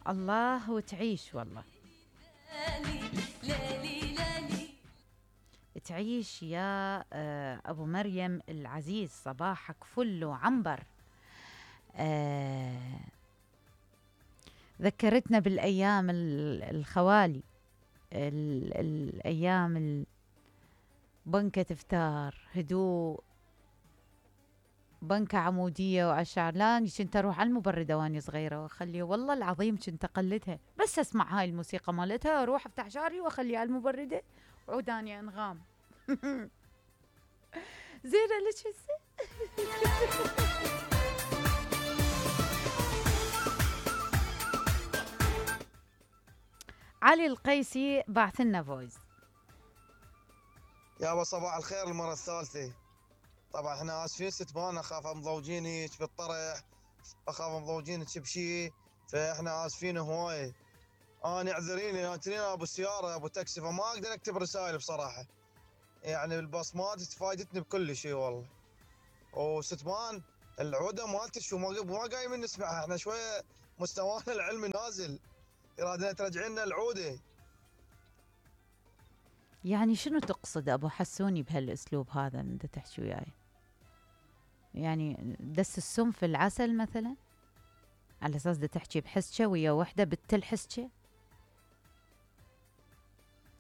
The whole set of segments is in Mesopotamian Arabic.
الله وتعيش والله. تعيش يا أبو مريم العزيز، صباحك فل وعنبر. ذكرتنا بالأيام الخوالي، الأيام بنكة إفطار، هدوء، بنكة عمودية وأشعر. لا كنت أروح على المبردة وأني صغيرة وأخليه، والله العظيم كنت أقلدها، بس أسمع هاي الموسيقى مالتها أروح أفتح شعري وأخليها على المبردة وعوداني أنغام. زينة ليش هسه. علي القيسي بعث لنا فويس. يابا صباح الخير المرة الثالثة. طبعا احنا اسفين ستبان، اخاف مضوجينك بالطرح، اخاف مضوجينك بشي، فاحنا اسفين هواية. انا اعذريني، انا ابو سيارة ابو تاكسي، فما اقدر اكتب رسائل بصراحة. يعني البصمات فايدتني بكل شيء والله. وستبان العودة مالتك شو ما قايمين نسمعها، احنا شوية مستوانا العلمي نازل، ارادنا ترجعين لنا العودة. يعني شنو تقصد أبو حسوني بهالأسلوب هذا من تحكي وياي؟ يعني دس السم في العسل مثلا، على أساس دا تحكي بحسكة ويا وحدة بتل حسكة؟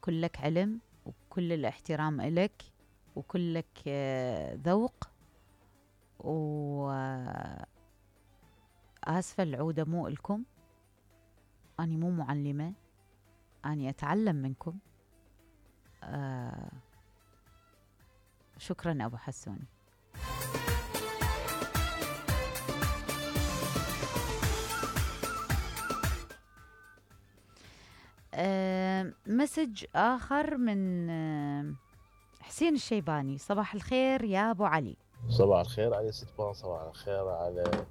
كلك علم وكل الاحترام إلك وكلك ذوق، وآسفة العودة مو إلكم، أني مو معلمة، أني أتعلم منكم. شكرا أبو حسوني. مسج آخر من حسين الشيباني. صباح الخير يا أبو علي. صباح الخير علي ستبان، صباح الخير على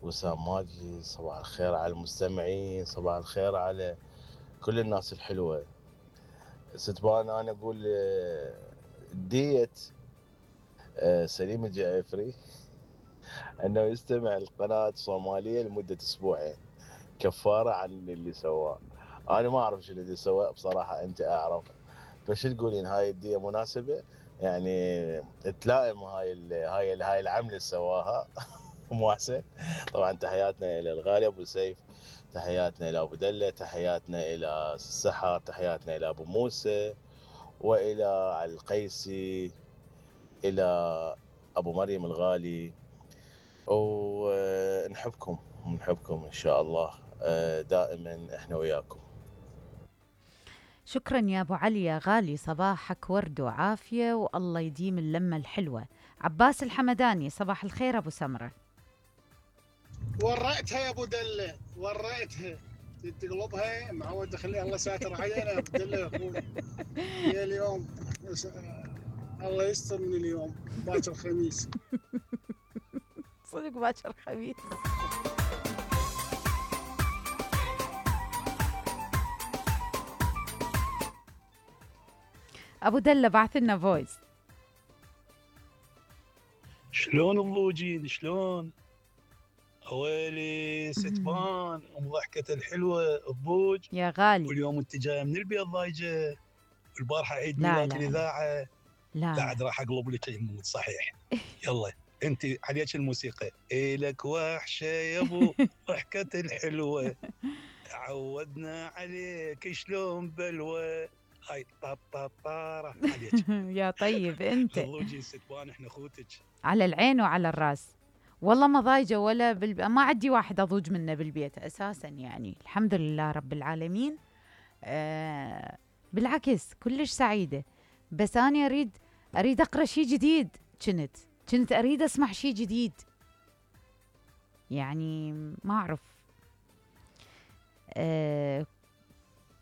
وسام ماجي، صباح الخير على المستمعين، صباح الخير على كل الناس الحلوة. ستبان أنا أقول ديت سليم الجعفري أنه يستمع القناة الصومالية لمدة أسبوعين كفارة عن اللي سواه. أنا ما أعرف شنو اللي سواه بصراحة، أنت أعرف، فشو تقولين هاي الدية مناسبة؟ يعني تلائم هاي العملة اللي سواها مو أحسن؟ طبعا تحياتنا إلى الغالي أبو سيف، تحياتنا إلى أبو دلة، تحياتنا إلى السحر، تحياتنا إلى أبو موسى، وإلى علي القيسي، إلى أبو مريم الغالي، ونحبكم إن شاء الله دائما إحنا وياكم. شكرا يا أبو علي يا غالي، صباحك ورد وعافية والله يديم اللمة الحلوة. عباس الحمداني. صباح الخير أبو سمرة. ورأتها يا أبو دلة، ورأتها تقلبها معود تخليها الله ساتر علينا يا أبو دلة يا أخوي. يا اليوم الله يستر من اليوم، باكر الخميس. صدق باكر الخميس. أبو دلة بعث لنا فويس. شلون الضوجين؟ شلون؟ ويلي ستبان ام ضحكة الحلوة الضوج يا غالي. واليوم انت جايه من البيض ضايجه، والبارحه عيد لا ميلاد لا الاذاعه. لا لا عاد راح اقلب لك المود صحيح. يلا انت عليك الموسيقى، إلك وحشه يا ابو ضحكة الحلوه، عودنا عليك شلون بلوى، هاي طاطا عليك. يا طيب انت. الضوجي ستبان احنا اخوتك. على العين وعلى الراس، والله ما ضايجه ولا ما عندي واحد اضوج منه بالبيت اساسا، يعني الحمد لله رب العالمين. بالعكس كلش سعيده، بس انا اريد اقرا شيء جديد. كنت اريد اسمع شيء جديد، يعني ما اعرف.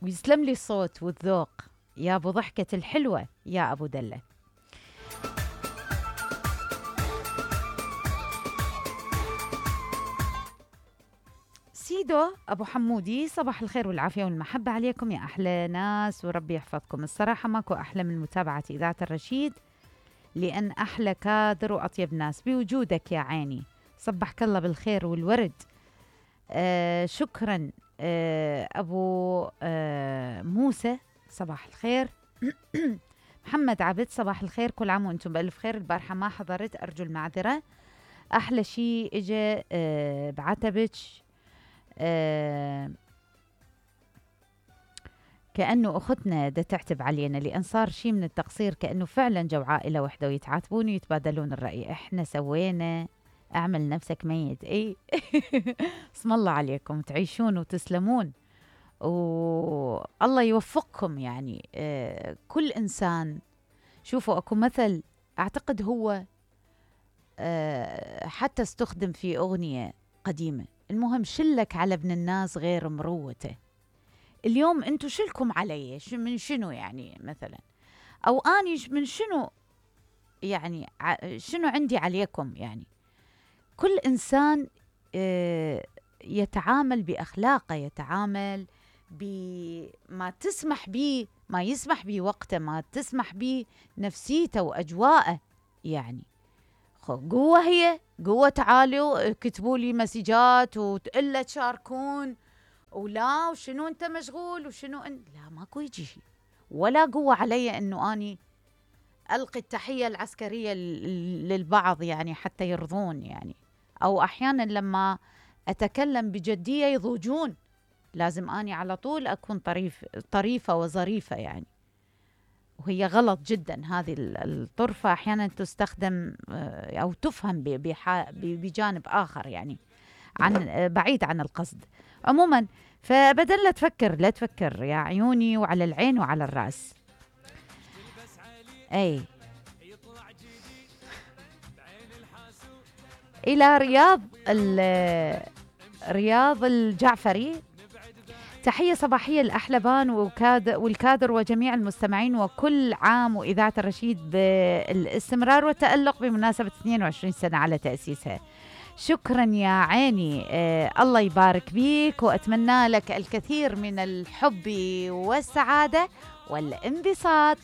ويسلم لي الصوت والذوق يا ابو ضحكة الحلوة يا ابو دلة. سيدو ابو حمودي. صباح الخير والعافية والمحبة عليكم يا احلى ناس، وربي يحفظكم. الصراحة ماكو احلى من متابعة اذاعة الرشيد، لان احلى كادر واطيب ناس بوجودك يا عيني. صبحك الله بالخير والورد. شكرا أبو موسى صباح الخير. محمد عبد صباح الخير، كل عام وانتم بألف خير. البارحة ما حضرت، أرجو المعذرة. أحلى شيء إجا بعتبك، كأنه أختنا دا تعتب علينا لأن صار شيء من التقصير، كأنه فعلا جو عائلة وحدة ويتعاتبون ويتبادلون الرأي. إحنا سوينا، أعمل نفسك ميت. إيه اسم الله عليكم، تعيشون وتسلمون والله يوفقكم. يعني كل إنسان، شوفوا أكو مثل أعتقد هو حتى استخدم في أغنية قديمة، المهم شلك على ابن الناس غير مروته. اليوم انتو شلكم علي من شنو يعني مثلا، او اني من شنو يعني، شنو عندي عليكم يعني. كل انسان يتعامل باخلاقه، يتعامل بما تسمح به، ما يسمح به وقته، ما تسمح به نفسيته واجواءه. يعني قوة، هي قوة. تعالوا كتبوا لي مسجات وتقول تشاركون ولا وشنو انت مشغول وشنو لا، ماكو يجي شيء ولا قوة علي انه اني القي التحية العسكرية للبعض يعني حتى يرضون يعني، او احيانا لما اتكلم بجدية يضوجون، لازم اني على طول اكون طريفة وظريفة يعني. وهي غلط جدا هذه الطرفة، احيانا تستخدم او تفهم بجانب اخر يعني، عن بعيد عن القصد. عموما فبدل لا تفكر يا عيوني، وعلى العين وعلى الرأس. اي الى رياض الجعفري، تحية صباحية لأحلبان والكادر وجميع المستمعين، وكل عام وإذاعة الرشيد بالاستمرار والتألق بمناسبة 22 سنة على تأسيسها. شكرا يا عيني، الله يبارك بيك، وأتمنى لك الكثير من الحب والسعادة والانبساط.